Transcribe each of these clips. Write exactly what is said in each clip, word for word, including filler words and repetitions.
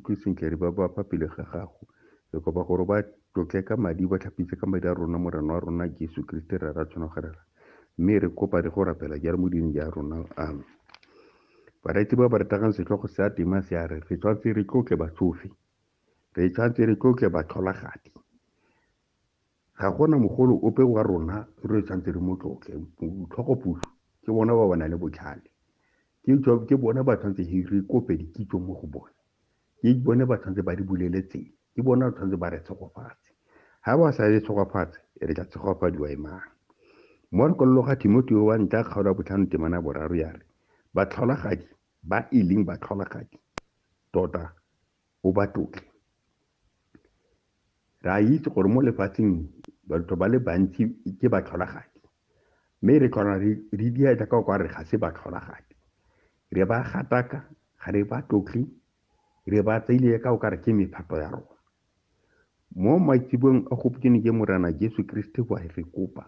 ikutlwe sentle re ba ba fa pele ga gago. Re kopa gore ba tlotle ka madi, ba tlhapise ka madi a rona Morena wa rona Jesu Kriste re ra tshwana go rera. Mme re kopa re go rapela jalo mo dineng ja rona. Amen. Bareetsi ba ba rategang, setlhogo sa tema se a re re tshwanetse re tlotle batsofe, re tshwanetse re tlotle batlholagadi. Ga gona mogolo ope wa rona re tshwanetse re mo tlotle. Tlhogopuso ke bona ba ba nang le botlhale, ke ke bona ba tshwanetse re kope dikitso mo go bone, ke bone ba tshwanetse ba di bulele tsela, ke bona ba tshwanetse ba re tshegofatse. Ha ba sa re tshegofatse, re tla tshegofadiwa e mang? Mo lekwalong ga Timotheo wa ntlha kgaolo ya botlhano temana boraro ya re batlholagadi ba e leng batlholagadi tota o ba tlotle. Re a itse gore mo lefatsheng batho ba le bantsi ke batlholagadi, mme re tlhola re dia jaaka o ka re ga se batlholagadi. Re ba gataka, ga re ba tlotle, re ba tseile ka o ka re ke mephato ya rona. Mo maitseboeng a gompieno ke Morena Jesu Kriste wa re kopa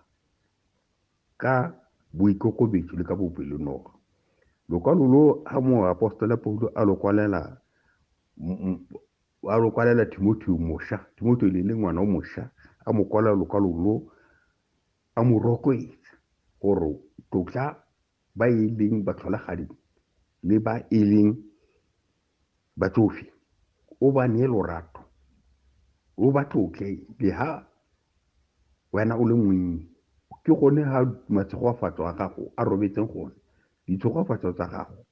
ka boikokobetso le ka bopelonolo. Lokwalo lo ha moapostola Paulo a lo kwalela a lo kwalela Timotheo mošwa, Timotheo le le ngwana o mošwa, a mo kwalela lokwalo lo a mo rotloetsa gore tlotla ba e leng batlholagadi le ba e leng batsofe, o ba nee lorato, o ba tlotle le ha wena o le monnye. Ke gone ha matshegofatso a gago a robetseng gone, ditshegofatso tsa gago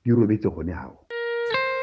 di robetse gone hao.